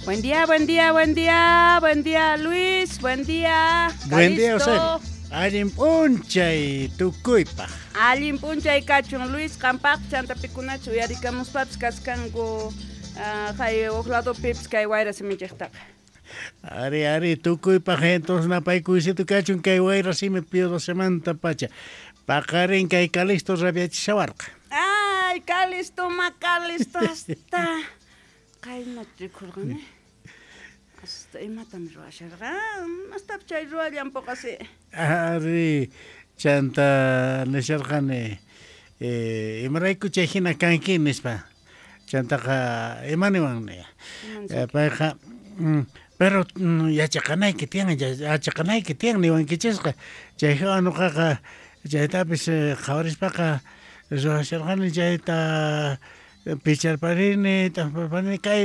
Buen día, buen día, buen día, buen día Luis, buen día. Buen día, Eusebio. Allin p'unchay tukuypaj. Allin p'unchay kachun Luis, qampaq chanta pikunachu uyarikamuspapis kaskanku hay uj ladopipis kay wayra simichejtaqa. Ari, ari, tukuypaj entonces napaykuysito kachun kay wayra simi Pío 12 pacha. Paqarin kay Calixto rabiachishawarqa. Ay, Calixto, ma Calixto hasta qayna rikhurqani. Hasta imatam ruwasharqan, hasta chay ruwallanpoqasi. Ari, chanta nisharqani imarayku chay hina kanki nispa. Chantaqa imaniwan payqa pero yachaqanayki tiyan, yachaqanayki tiyan niwankichisqa. Chay hawa nuqaqa chaytapis qhawarispaqa ruwasharqani chayta picharparini, t'amparparini kay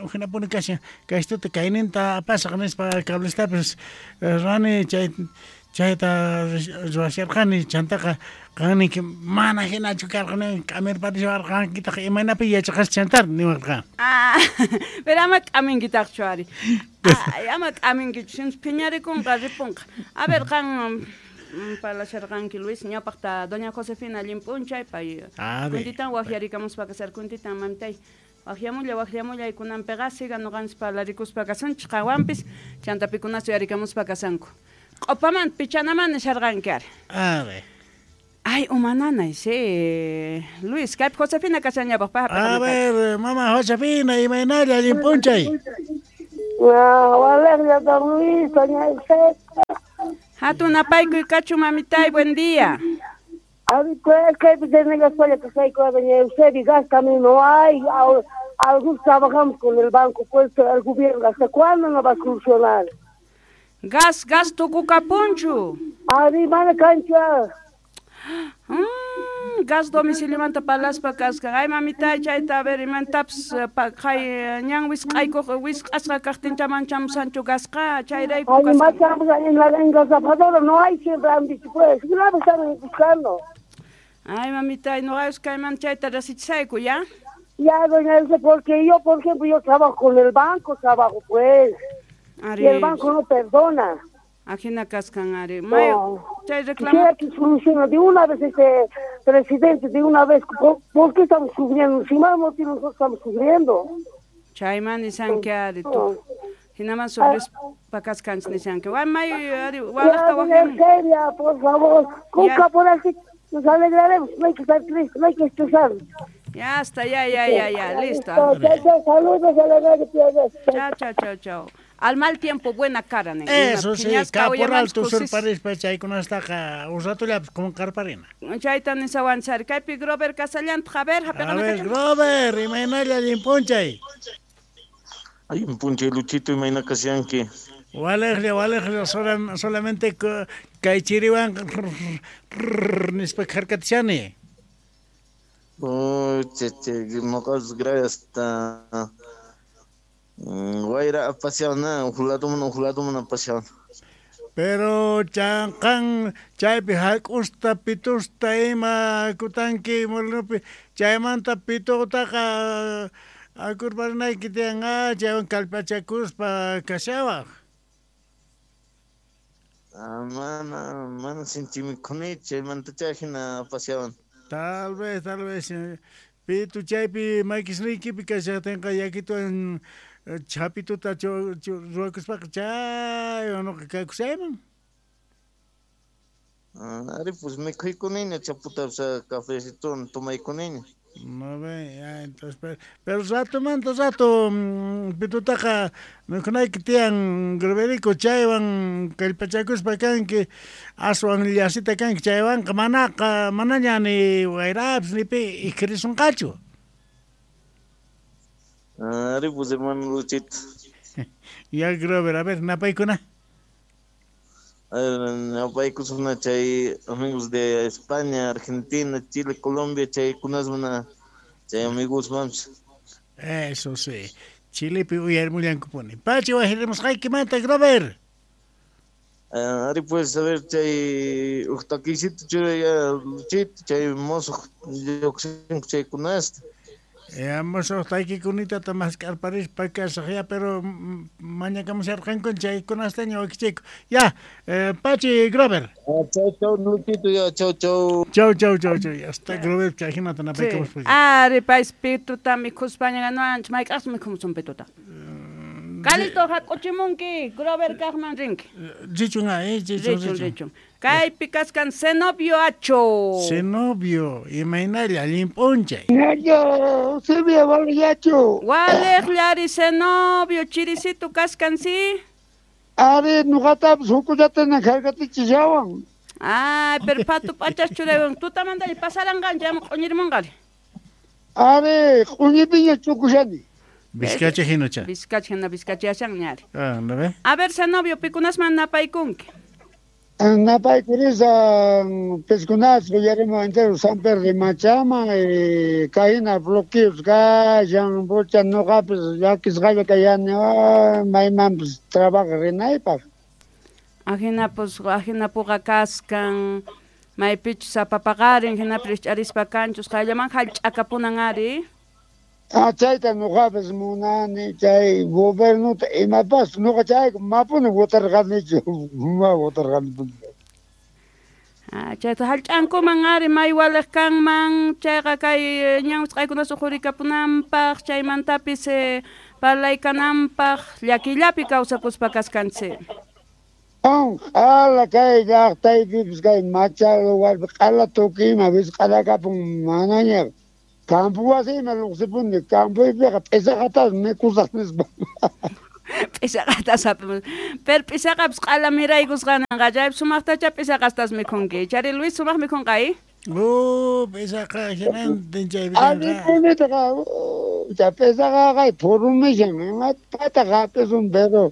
ujinapuni kashan kaystuta kayninta apasaq nispa cablestapis ruwani chayta ruwasharqani chantaqa qan ninki mana hinachu karqani k'amirpariswarqankitaq imaynapi yachaqas chantar niwarqa. Ah, pero ama k'aminkitaqchu ari. Ay, ama k'aminkichu sinchus phiñarikunqa ripunqa. A ver qan parlasharqanki Luis ñawpaqta doña Josefina allin p'unchay pay kuntitan waqyarikamuspa kasar kuntitan mamitay waqyamulla waqyamulla kunanpiqa siga nuqanchis parlarikuspa kasunchis qanwanpis chanta pikunachu uyarikamuspa kasanku. Q'upaman pichanaman nisharqanki ari. A ver. Ay, umananay, sí. Luis, kaypi Josefina kashañapaq pay A ver, mama Josefina, imaynalla allin p'unchay. Walejlla don Luis, doña Eusebia. Hatun napaykuy kachu mamitay, buen día. A ver, pues, kaypi desde la escuela que soy con doña Eusebia, gas también no hay. Algunos trabajamos con el banco, pues, el gobierno, ¿hasta cuándo no va a solucionar? Gas, gas tukukapunchu. Ari, mana cancha. Gas domiciliomanta parlaspa kasqa. Ay mamitay chayta a ver imantapis hay ñan wisq'aykuq wisq'asqa kaqtincha manchamusanchu gasqa chayrayku kasqa. Ay, machamos en la engasafadora no hay siempre han dicho pues, grave están buscando. Ay mamitay, nuqayus kayman chayta rasichisayku, ¿ya? Ya, doña Elsa, porque yo, por ejemplo, yo trabajo con el banco, trabajo pues. Ari. Y el banco no perdona. Ajina kaskan ari. No. Chay reclamo. Quisiera que solucione de una vez este presidente, de una vez. ¿Por qué estamos sufriendo? Si más motivo nosotros estamos sufriendo. Chayman nisanki ari tu. Hinaman sufrispa kaskanchis nisanki. May ari walaqta waqyan. Por favor, con caporal nos alegraremos, no hay que estar tristes, no hay que estresarnos. Ya está, ya, ya, ya, ya, listo. Chao, saludos a la radio. Chao, chao, chao, chao. Al mal tiempo, buena cara, ne. Eso sí, caporal tu surparispa chaykunastaqa un ratollapis qunqarparina. Chayta nisawanchari. Kaypi Grover Casallanta, a ver, A ver, Grover, imaynalla allin p'unchay. Allin p'unchay, Luchito, imayna kashanki. Walejlla, walejlla, solamente kay chiriwan nispa kharkatishani. Oh, che, che, noqas gracias hasta wayra apasiona, ujladuman apasiona. Pero chanqan chaypi hak'usta pitusta ima kutanki molinopi chaymanta pitutaqa akurparinayki tiyan chaywan kallpachakuspa kashawaq. Mana mana sinchimikuni chaymanta chayhina apasiawan. Tal vez, tal vez. Pitu chaypi makisniykipi kashaqtinqa yakituwan chapituta ruwakuspaqa chaywan nuqa kakusayman. Ari pues mikhuykuniña chaputa cafecito tomaykuniña. No ve, ya, entonces, pero ratomanta rato pitutaqa mikhunayki tiyan Groverico chaywan kallpachakuspa kanki aswan llasita kanki chaywanqa manaqa manaña ni wayrapis ni pi ikhirisunqachu. Ari pues hermano Luchito. Ya Grover, a ver, napaykuna. Napaykusuna chay amigos de España, Argentina, Chile, Colombia, chaykunasmana chay amigos mams. Eso sí. Chilepi uyarimullankupuni. Pachi wajirimusqaykimanta, Grover. Ari pues a ver chay uj takisito churay ya Luchito, chay mozo lluqsinku chaykunasta. Ya musuq taykikunitata mask'arparispa kasaq ya, pero mañakamusharqankun chaykunastaña wakichayku. Ya, Pachi Grover. Chau, chau, Luchito, ya, chau, chau. Chau, chau, chau, chau. Ya está Grover, chay hinata napaykamuspa. Ari, pais pituta mikhuspaña ganuanchis, mayk'aqsi mikhumusun pituta. Calito hak'uchimunki, Grover kaqman rinki. Richun, richun, richun, richun. Kaypi kaskan Zenobio Acho. Zenobio, imaynalla allin p'unchay. Ñaño, Eusebio walillachu. Waliqllari Zenobio, chirisitu kaskan si. Ari, nuqatapis hukullatana harkatichishawan. Ay, pero patu p'achas churaywan tutamantalla pasaranqanchik ama q'uñirimunqari. Ari, q'uñipiña chukushani. Vizcacha hinacha. Vizcacha hina vizcachashanña ari. Ah, ¿no ve? A ver, Zenobio, pikunasman napaykunki. Napaykurisa piskunas uyarimu entero San Pedro de Machama, kayna bloqueos kashan, pucha nuqapis llakisqalla kayani, maymanpis trabaja rinaypaq. Ajinapus ajinapuqa kaskan, maypichus sapapaqarin, hinapi rikch'arispa kanchus, qayllaman hallch'akapunan ari. Ah, chayta nuqapis munani, chay gobernota imapas nuqa chayku mapuni votarqanichu, ma votarqani. Ah, chayta hallch'ankuman ari may waliq kanman, chayqa kay ñawsqaykunas uqurikapunanpaq, chaymantapis parlaykananpaq, llakillapi kawsakuspa kaskanchik. Q'ala kay llaqtaypipis kay macha lugarpi q'ala tukuyma wisq'alakapun manaña. Campo wasiyman lluqsipuni, campoypiqa p'isaqatas mikhusaq nispa. P'isaqatas hap'imus. Pero p'isaqapis q'ala miraykusqananqa, chaypi sumaqtacha p'isaqastas mikhunki. Chari Luis sumaq mikhunqa, P'isaqa hinantin chaypi Allinpunitaqa, chay p'isaqa kay phurumishan, imapataq hap'isun, pero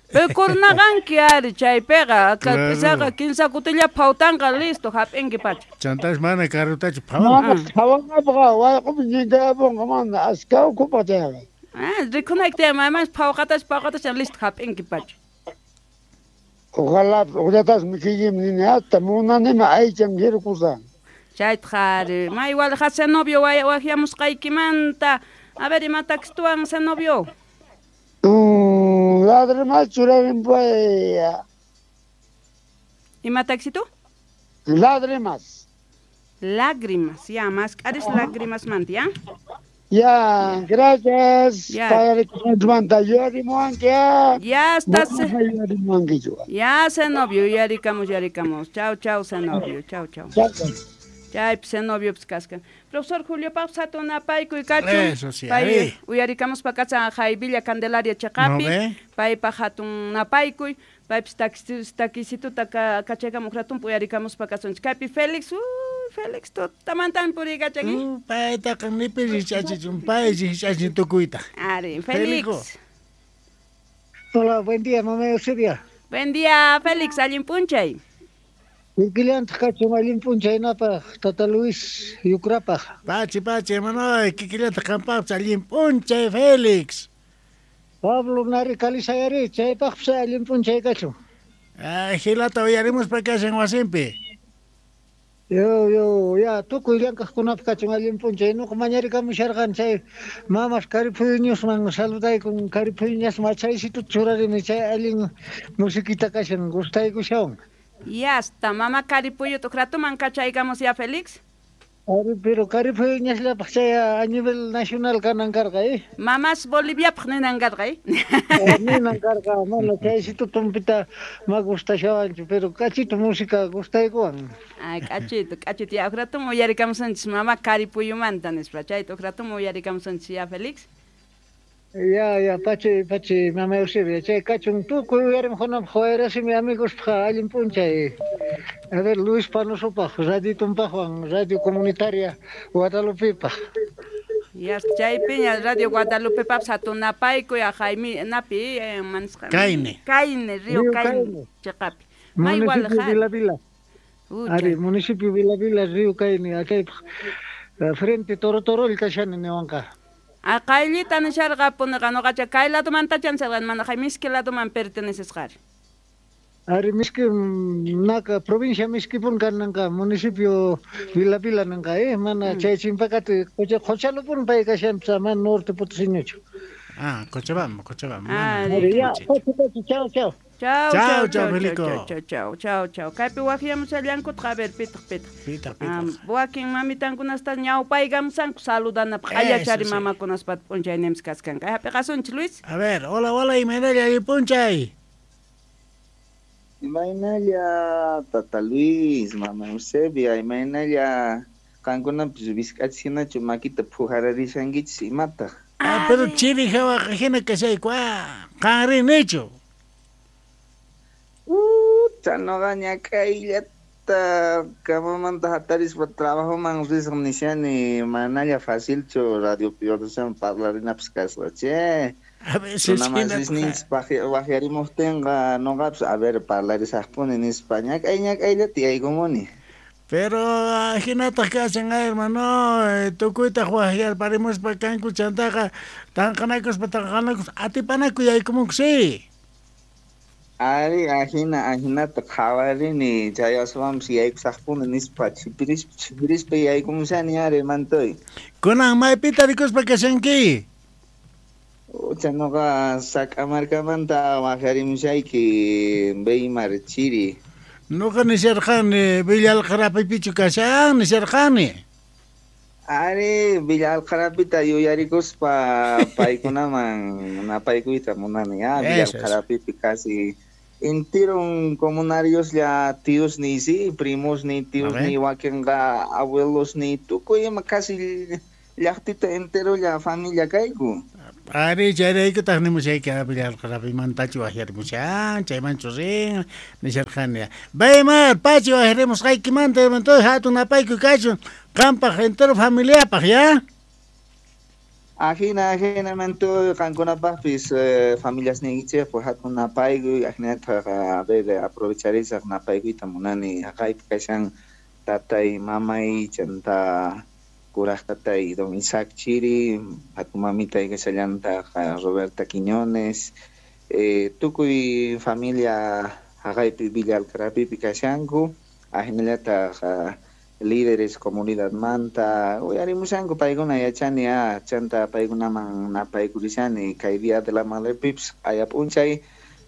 Pukurnaqanki ari chaypiqa, p'isaqa kinsa kutilla phawtanqa listo hap'inki pacha. Chantash mana karutachu phawan. Mana phawanqapqa wayq'upi ñinkayapunqa mana aska ukhupa chayqa. Ah, rikhunayki tiyan maymanchus phawqatash phawqatash listo hap'inki pacha. Ojalá uqllatas mikhuykim nini hasta munanima aycham hirkusan. Chaytaq ari, may waliqa Zenobio waqyamusqaykimanta. A ver, imatakstuwan Zenobio. Lágrimas churarin pay. Ima taxito? Lágrimas. Lágrimas, ya, más cares lágrimas manta, ya. Ya, gracias. Ya. Ya Ya estás. Ya, Zenobio, yarikamos, yarikamos. Chao, chao, Zenobio, chao, chao. Chay, Zenobio, pues cascan. Profesor Julio Paz, hatun napaykuy kachun. Eso sí, Pay uyarikamus pakacha Villa Candelaria chaqapi. No, paypa hatun napaykuy, paypis takisituta kachaykamuq ratunpi uyarikamus pakasunchik. Kaypi Félix, Félix tutamantan puriykachaki. Paytaqa nipi rich'achichun, pay rich'achin tukuyta. Ari, Félix. Hola, buen día, mamá Eusebia. Buen día, Félix, allin p'unchay. Kikillantaq kachun allin p'unchaynapaq, Tata Luis Yukrapaq. Pachi, pachi, hermano, kikillantaq qampaqpis allin p'unchay, Félix. Pablo nari kalisayari, chaypaqpis allin p'unchay kachun. Ah, Gilata uyarimuspa kashan wasinpi. Yo, yo, ya, tukuy llank'aqkunapaq kachun allin p'unchay. Nuqa mañarikamusharqani chay mamas Karipuyñusman saludaykun, Karipuyñasman chaysituta churarini, chay allin musiquita kashan, gustaykushawan. Ya está, mamá Caripuyo, tu ratuman kachaykamos ya, Félix. Ari, pero Karipuyñasllapaq chay a nivel nacional kanan karqa, Mamás Boliviapaq ninan karqa, Ninan karqa, mana chaysito tumpita ma gustashawanchu, pero kachito música gustaykuwan. Ay, kachito, kachito, ya, ratum uyarikamusunchis mamá Caripuyumanta nispa, chayta ratum uyarikamusunchis ya, Félix. Ya, ya, pachi, pachi, mamá Eusebia, chay kachun tukuy uyarimqunapaq wayrasimi amigospaq allin p'unchay. A ver, Luis Panosopaq, Radio Tumpaqwan, Radio Comunitaria Guadalupepaq. Ya, chaypiña Radio Guadalupepapis hatun napaykuy, Jaime napi, manisqa. Caine. Caine, Río Caine, chaqapi. May Municipio Vila Vila. Ari, municipio Vila Vila, Río Caine, achaypaq frente Toro Torol kashani niwanqa. Ah, qayllita nisharqapuniqa nuqacha kay ladomantachan serqani, mana jay miski ladoman pertenecesqari. Ari miski naka provincia miskipun kananqa municipio Vila Vila nanqa mana chay chimpakati qochalupun pay kashanpis mana norte potosiñochu. Ah, Cochabamba, Cochabamba. Ah, Ya, chao, chao. Chao, Chao, chao, chao, chao, Felico. chao, chao, chao, chao. Kaypi waqyamushallankutaq, a ver, pitaq, pitaq. Pitaq, pitaq. Wakin mamitankunasta ñawpaykamusanku saludanapaq. Allachari Eso sí. mamakunaspata p'unchayninpis kaskanka. Hap'iqasunchik, Luis. A ver, hola, hola, imaynalla allipunchay. Imaynalla tata Luis, mama Eusebia, imaynalla qankunapis wisk'achis hinachu makita phujararishankichis imataq. Ah, pero chiri hawaqa hina kashayku, ah, qanri nichu. Ucha, noqa ñak'ayllata camamanta hatarispa trabajoman risaq nishani, manalla facilchu radio Piordosewan parlarinapis kasqa, che. A veces Runa masisninchis waqyarimuqtinqa noqapis a ver parlarisaqpuni nispa ñak'ay ñak'ayllata yaykumuni. Pero hinataq kashan, hermano, tukuytaq waqyarparimuspa kanku chantaqa tanqanakuspa tanqanakuspa atipanaku yaykumunku, sí. Ari, ajina, ajinata qhawarini, chay aswanpis yaykusaqpuni nispa chipirispa chipirispa yaykumushani ari mantoy. Kunan maypita rikuspa kashanki? Ucha noqa Sac'amarkamanta waqyarimushayki Weimar Chiri. Noqa nisharqani Villa Alqarapipichu kashan nisharqani. Ari, Villa Alqarapita yuyarikuspa paykunaman napaykuyta munani, ah, Villa Eso, eso. Alqarapipi casi enteron comunarioslla tíosniy, sí, primosniy, tíosniy, wakinqa abuelosniy, tukuy ima casi llaqtita enterolla familia kayku. Ari, chayraykutaq nimushayki Villa Alqarapimantachu waqyarimushan, chaymanchu rin, nisharqani. Weimar, pachi waqyarimusqaykimanta, hermano, hatun napaykuy kachun, qampaq entero familiapaq, ya? Ajina, ajina, mantoy, qankunapaqpis familiasniykichikpaq hatun napaykuy, ajinataq, a ver, aprovecharisaq napaykuyta munani, haqaypi kashan tatay, mamay, chanta kuraj tatay don Isaac Chiri, hatun mamitay kashallantaq Roberta Quiñones, tukuy familia haqaypi Villa Alqarapipi kashanku, ajinallataq líderes comunidadmanta uyarimushanku paykuna yachani, chanta paykunaman napaykurishani kay Día de la Madrepipis q'aya p'unchay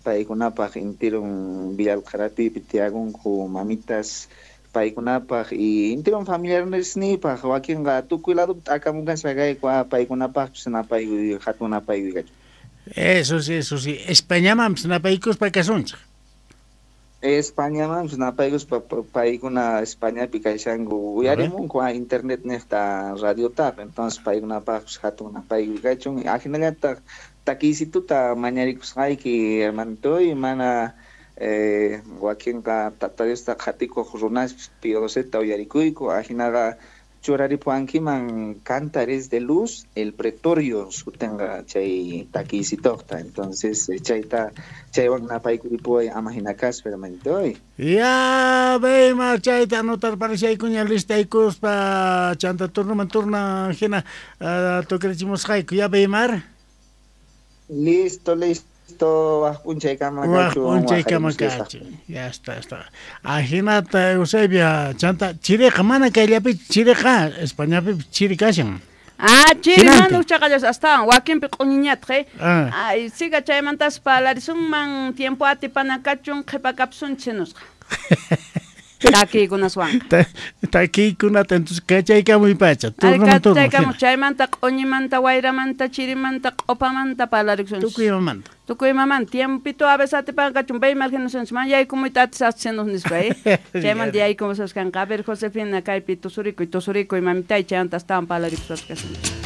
paykunapaq intirun Villa Alqarapipi tiyakunku mamitas paykunapaq y intirun familiaresniypaq wakinqa tukuy ladopi t'akamukaspa kayku, paykunapaqpis napaykuy hatun napaykuy kachun. Eso sí, eso sí. Españamanpis napaykuspa kasunchik. Españamanpis napaykuspa paykuna Españapi kashanku uyarimunku internet niqta radiotaq, entonces paykunapaqpis hatun napaykuy kachun. Ajinallataq takiysituta mañarikusqayki hermanitoy, mana wakinqa tata Diosta qhatikuq runaspis Pío Doceta uyarikuyku, ajinaqa churaripuwankiman Cantares de Luz, el Pretorio sutinqa chay takiysituqta, entonces chayta chaywan napaykuripuway ama hina kaspa hermanitoy. Ya, Weimar, chayta anotarparishaykuña listaykuspa chanta turnoman turna hina tukrichimusqayku, ya Weimar. Listo, listo, waj p'unchaykama Waj kachun, p'unchaykama waqarimusqayku. kachun. Ya está, está. Ajinata Eusebia, chanta chiriqa mana kayllapichu chiriqa, Españapi chiri kashan. Ah, chiri Hinantin. mana uchaqallas astawan wakinpi q'uñiñataq, Ah. Ay, siga chaymantas parlarisunman tiempo atipana kachun qhipakapsunchik nusqa. Takiykunaswanqa. Takiykunata entonces kachaykamuy pacha, Ay, turnoman turno. kachaykamuy, hina. chaymanta q'uñimanta, wayramanta, chirimanta, q'upamanta parlarikusunchik. Tukuy imamanta. Tukuy imamanta, tiempito a veces atipan kachun, Weimar hinusunchik, man yaykumuyta atisaqchinuq nispa, Chaymanta yaykumusaskanqa. A ver, Josefina, kaypi tusurikuy, tusurikuy, mamitay, chaymanta astawan parlarikusunchik.